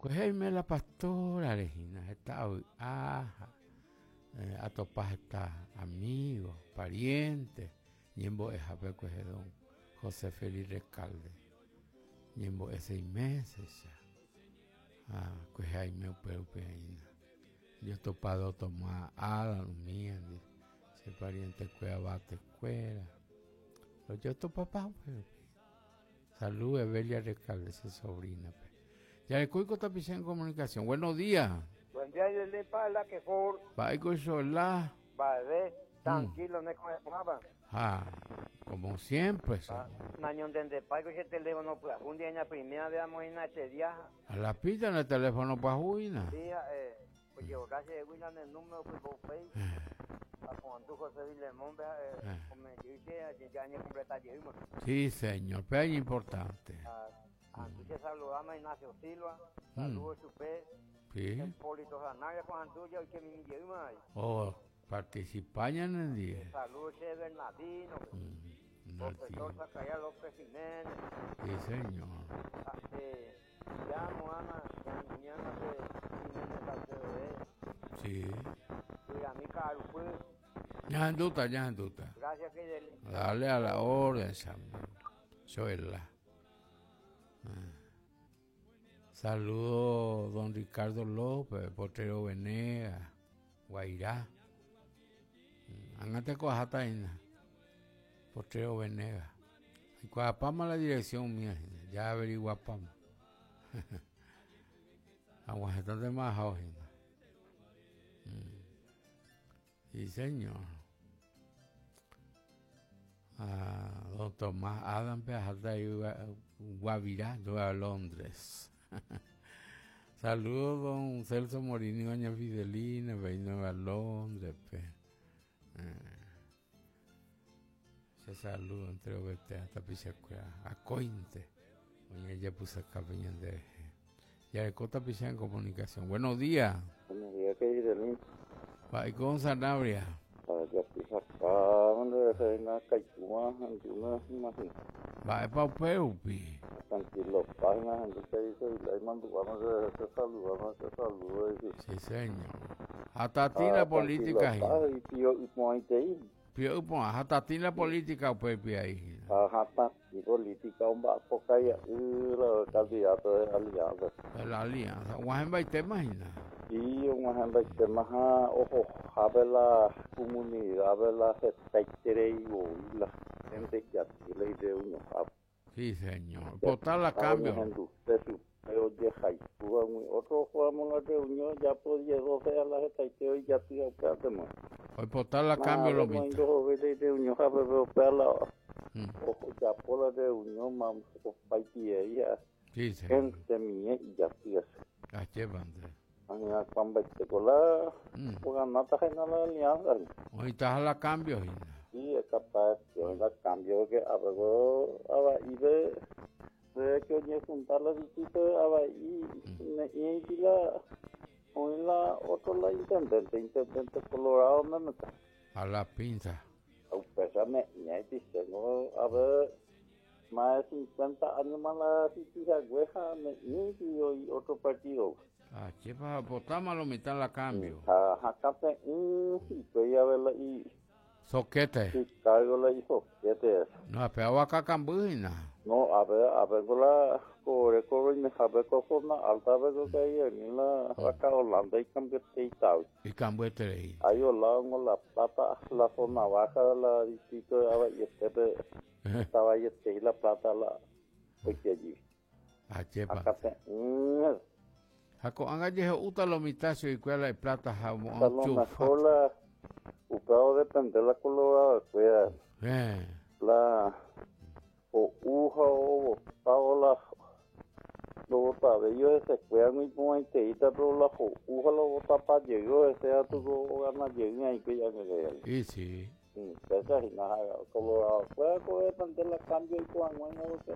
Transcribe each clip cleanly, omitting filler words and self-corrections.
Kuehe aime la pastora-re hína, heta avy'a ha atopa heta amigo, pariente, ñembo'ehápe kuehe don José Félix Recalde ñembo'e seis meses-cha. Ha kuehe aime upérupi aína. Jotopa do Tomás Adam umíandi, che pariente-kuéra Vate-kuéra. Rojotopapa upérupi. Salud Evelia Recalde che sobrina-pe. Jarekóiko tapicha en comunicación. Buenos días. Buen día, Yelén Paela, que for. Mba'éiko Chola. Mba'eve, tranquilo, ne ko'ẽporãva. Ha, como siempre, señor. Nañontendepáiko che teléfono pyahu ndie ña primera vez amoĩna che día. A la pita ne teléfono pyahu hína. Sí, ha'e ojevorra chehegui ñane número pypo upéi. Aporandu José Vilemón-pe ha'e ome'ẽ jey che ja añecompleta jeýma. Sí, señor, péva iñimportante. Ahandu che saludáma Ignacio Silva, saludo chupe. Sí. Hipólito Zanabria ko ahandu ja oike mimi jeýma avei. Oh, participa ñanendie. Saludo che Bernardino-pe. Profesor Zacarías López Jiménez. Sí, señor. Ha'e ya mo'ãna ñañana pe Jiménez Salcedo re. Sí. Guyramí Ka'arupy. Ñahendúta, ñahendúta. Gracias, Fidel. Dale a la orden, chamo. Choela. Ah. Saludo don Ricardo López, Potrero Venegas, Guairá. Ág̃a tekoaháta hína, Potrero Venegas. Aikuaapáma la dirección umía hína, ya averiguapáma. Aguahẽtantema ahávo hína. Sí, señor. Ah, don Tomás Adam pe aháta Guavirá, Nueva Londres. Saludos don Celso Morini, doña Fidelina, pe Nueva Londres pe. Eh. Che saludo entre ovete tapichakuéra akóinte oñejapysaka pe ñande rehe. Jareko tapicha en comunicación. Buenos días. Buenos días, querido. Mba'éiko don Sanabria. Ajapysaka nde rehe na kaikúva hendúna imagina. Mba'épa upe rupi. Tranquilo página hendu che dice imandu'áma che rehe che saludáma che saludo dice. Sí señor. Ha tatĩ la política hína. Pio ypo'ãitei. Pio ypo'ã ha tatĩ la política upe rupi aí hína. Ha hatãtĩ política omba'apo kaia'y la candidato de alianza. De la alianza. Og̃uahẽmbaitéma hína. Sí, og̃uahẽmbaitéma ha ohohápe la comunidad-pe la hetaiterei voi la gente ijaty la irreunionhápe. Sí, señor. Pota la cambio. Oñehenduse chupe ojehayhúva umi otro ohóramo la reunión ojapo diez, doce a la hetaite oijaty ha upévatema. Oipota la cambio lo mitã. Ndohovéi la ireunionhápe pe upéva la ojapo la reunión ma opaitiei ha Sí, señor. gente mie ijaty hese. Ajépa nde. Añeakuãmbaitéko la oganáta hína la alianza. Oĩtaha la cambio hína. Sí, es capaz que oĩ la cambio que arregó ava'ípe de que oñejunta la distrito de ava'i ne'ĩiti la oĩ la otro la intendente, intendente colorado memete. A la pinza. Upéicha ne'ĩaiti chéngo a ver más de 50 años más la sitihague ha ne'ĩiti oĩ otro partido. Ah, chépa potáma lo mitã la cambio. Ha hakate'ỹ hikuái ave la i Soquete. I cargo la i soquete. No, pe avaka kamby hína. No, ape ape ko la ko ore ko roimehápe ko zona alta pe ko kaiemi la vaca Holanda ikambyeteitagui. Ikambyeterei. Ahí olao La Plata, la zona baja de la distrito de Avaiete-pe, estaba La Plata la oike allí. Ajépa. Akate'ỹ. Ha ko'ág̃a jeho'úta lo mitã chuguikuéra la iplata ha A omo'ã lo chufa. mejor la upéva odepende la colorado-kuéra. Héẽ. La ho'u ha ovotávo la ndovotavéi ohesekuéra noiporãiteíta pero la ho'u ha la ovotapa jey ohese katu ko ogana jey aĩko ijangekaiáre. Y sí. Péicha hína ha colorado-kuéra ko odepende la cambio oiko hag̃ua porque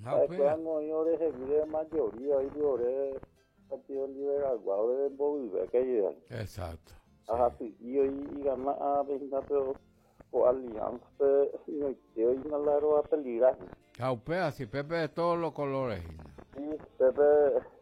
Ha ha'ekuéra upéva. oĩ orehegui mayoría oĩgui ore Partido Liberal-gua ore mbovyve kaivéva. Exacto. Ha hasy'i oĩ igana ápe hína pero ko alianza-pe ñoite oĩna la roapeligra. Ha upéva si pépe de todos los colores hína. Sí, pépe.